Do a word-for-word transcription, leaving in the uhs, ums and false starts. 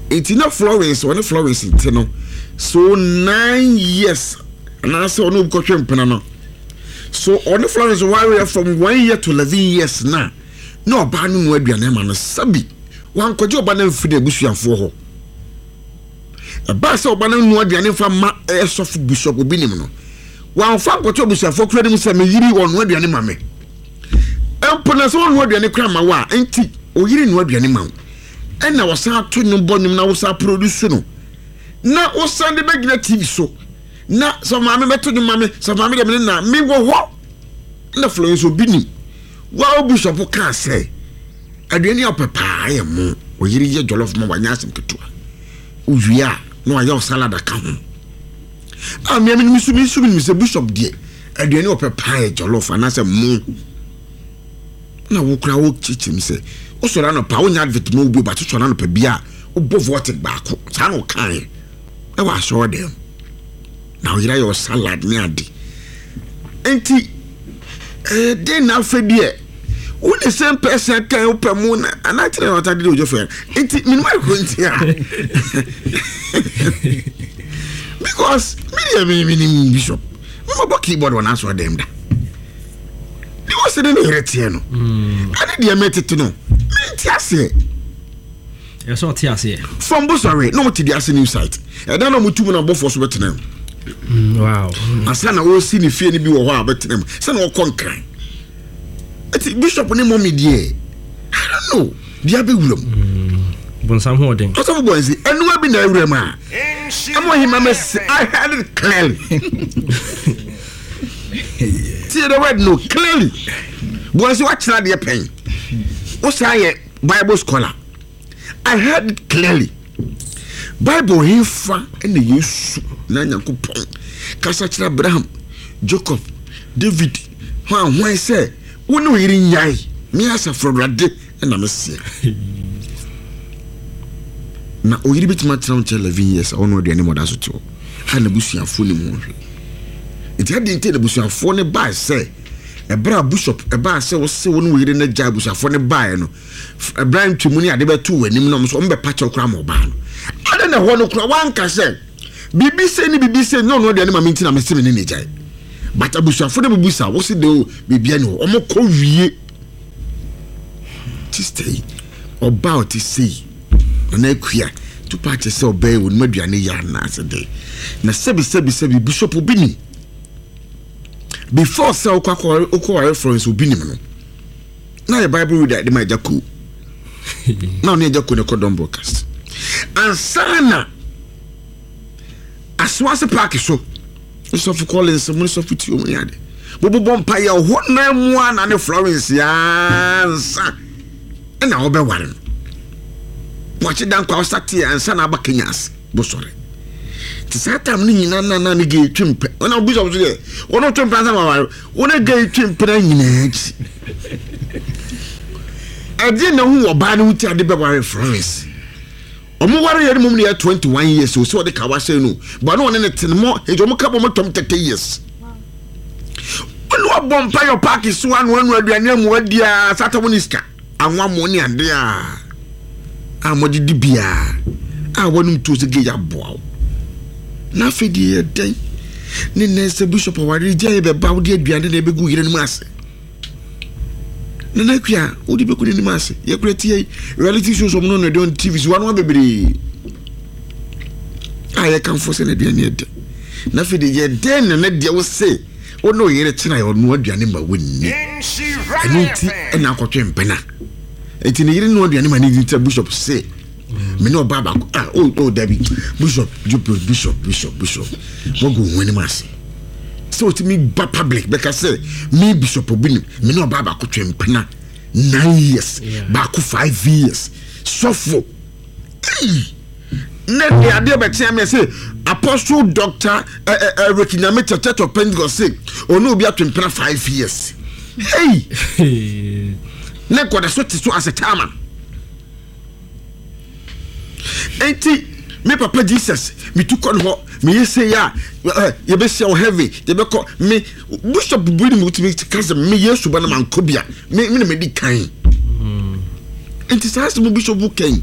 Nti na Florence, ɔne Florence nte no so nine years anaasɛ ɔne obi kɔhwɛ mpena no so, ɔne Florence wareɛ from one year to eleven years na na ɔbaa no mu aduane ama no. Sabi wankɔgye ɔba no mfiri n'abusuafoɔ hɔ. Ɛbaa sɛ ɔba no nua aduane mfa ma ɛsɔfo Bishop Obi nim no, wamfa nkɔtɔ abusuafoɔ kura no mu sɛ meyiri ɔnoa aduane ma me mpo na sɛ ɔnoa aduane kura ma wo a, nti oyiri noa aduane ma wo, ɛna wɔsan ato nnwom bɔ nnwom na wosan produce no na wosan de bɛgyina T V so na sɛ maame bɛto nnwom ma me, sɛ maame deɛ mene na mewɔ hɔ na Florence Obi nim wa bishop kaa sɛ aduane a ɔpɛ paa yɛ mo oyiri yɛ jollof ma wanyɛ asɛm ketewa, wowie a na wayɛ wo salad aka ho a mmea mi nso mi nso mi nim sɛ bishop deɛ, aduane a ɔpɛ paa yɛ jollof anaasɛ mo na wo kura wo kyekyere mi sɛ wosɔrɔ anɔpa, wonya advert ma obi ba sɔrɔ anɔpa bi a wobɔ Voltic baako saa na ɔkaeɛ ɛwɔ asɔrɔ dɛm na ɔyere ayɛ salad ne ade. Nti ɛɛ den na afɛ deɛ wo the same person kan wopɛ mu na anakyerɛ na ɔta de de odwo fɛ. Nti minima akɔ nti a because mi deɛ mi mi ni bishop mi ma bɔ keyboard wɔ n'asɔrɔ dɛm da de wɔsi ne ne yɛrɛ teɛ no ɛne deɛ mɛ tete no mi ti aseɛ. Ɛsɛ ɔte aseɛ. From Bosare na ɔmo te de ase new site ɛdan na ɔmo tu mu na abɔfoɔ so bɛtena mu. Mm, wow Ansa na ɔresi ne fie no bi wɔ hɔ a ɔbɛtena mu sɛ na ɔkɔ Nkran. Eti bishop ne mɔmi deɛ, I don't know deɛ abɛwura mu. Bonsam ho ɔden. Ɔsɔfo bɔ nsi ɛnua bi na awura mu a ɛmo ahima mɛ si. I heard it clearly. Tie the word no clearly. Bɔ nsi wakyerɛ adeɛ pɛn, wosan yɛ Bible scholar. I heard it clearly. Bible hefa ɛna Yesu na Nyankopɔn kasa kyerɛ Abraham, Jacob, David, hwan hwan sɛ wo ne wo yere nyae, me asafo Awurade ɛna meseɛ na oyere bɛtumi atena wo nkyɛn eleven years a ɔno aduane ma ɔda so te hɔ a n'abusuafoɔ ne mu hwɛ. Nti adi nti n'abusuafoɔ ne baa sɛ ɛberɛ a bishop ɛbaa sɛ wose wo ne wo yere no gya, abusuafoɔ ne baeɛ no ɛberɛ ntwemu ne ade bɛto w'anim na ɔmo so ɔmo bɛpa kyɛw koraa ma ɔbaa no ade na ɛhɔ no koraa wanka sɛ biribi sɛ ne biribi sɛ ne ɔno aduane ma me nti na mese me ne ne gyae, but abusuafoɔ no bubu sa wose de o biribia ne hɔ ɔmo kɔ wie. Sister yi, ɔbaa ɔte sei Nana Akua tupa akyɛ sɛ ɔbɛyɛ wɔ nim aduane yɛ anaasɛ dɛ na sɛbi sɛbi sɛbi bishop Obi nim before sɛ wokɔ akɔ wokɔ ware Florence Obi nim no na yɛ Bible reader de ma Agya Koo na ɔne Agya Koo ne kɔ Dɔm Broadcast ansa na Asoase Park so sɔfo Collins mu ne sɔfo Tio mu ne ade bobobɔ mpa yɛ hɔ nan mu a na ne Florence ansa ɛna wɔbɛware no wakye da nkwa ɔsate ansa na aba Kenya ase bosɔre. Nti saa tam no nyinaa na na ne gay twe mpɛ ɔna bishop so deɛ wɔn twe mpɛ ansa na waware wɔn gay twe mpɛ na nyinaa akyi ɛdeɛ na ho wɔ ɔbaa no ho ti ade bɛware Florence. Ɔmo ware yɛ no mom no yɛ twenty one years o sɛ ɔde kawa hyɛ no ba na ɔne ne tene mɔ nti ɔmo ka bɔ ɔmo tɔm thirty years. Ɔne wabɔ mpa yɛ park so ano ano aduane amu adi a sata mo ne sika anwa mo ne ade a a mo de di biara a wɔnom tuo sɛ gay aboa wo na afei deɛ yɛ dɛn ne nɛ sɛ bishop aware gya yɛ bɛba wode aduane na ɛbɛgu yere no mu ase. Nana Akua, wode bɛgu n'anim ase. Yɛkura tie reality shows ɔmo no no ɛde on T V so wanoa bebree a yɛkamfo sɛ n'aduane yɛ dɛ na afei de yɛ dɛn na ne deɛ wo se wo ne oyere kyena yɛ ɔnoa aduane ma wonni ɛno nti ɛna akɔtwe mpena. Nti ne yere noa aduane ma ne di nti bishop se me ne ɔbaa baako ah oh oh dabi, bishop bishop bishop bishop wɔgu ho anim ase sɛ otumi ba public bɛka sɛ me Bishop Obi nim me ne ɔbaa baako twe mpena nine years, baako five years. Sɔfo ne de adeɛ bɛkyɛn mi sɛ Apostle Doctor Eric Nyame Church of Pentecost sɛ ɔne obi atwe mpena five years. Hey, ne nkɔda so te so as a chairman. Enti me papa Jesus metu kɔ ne hɔ meyɛ sei a yɛbɛhyia wɔ heaven, yɛbɛkɔ. Me bishop bi ne mutumi ka sɛ me Yesu ba no mankɔ bia me me na medi kan. Nti saa asɛm bishop kan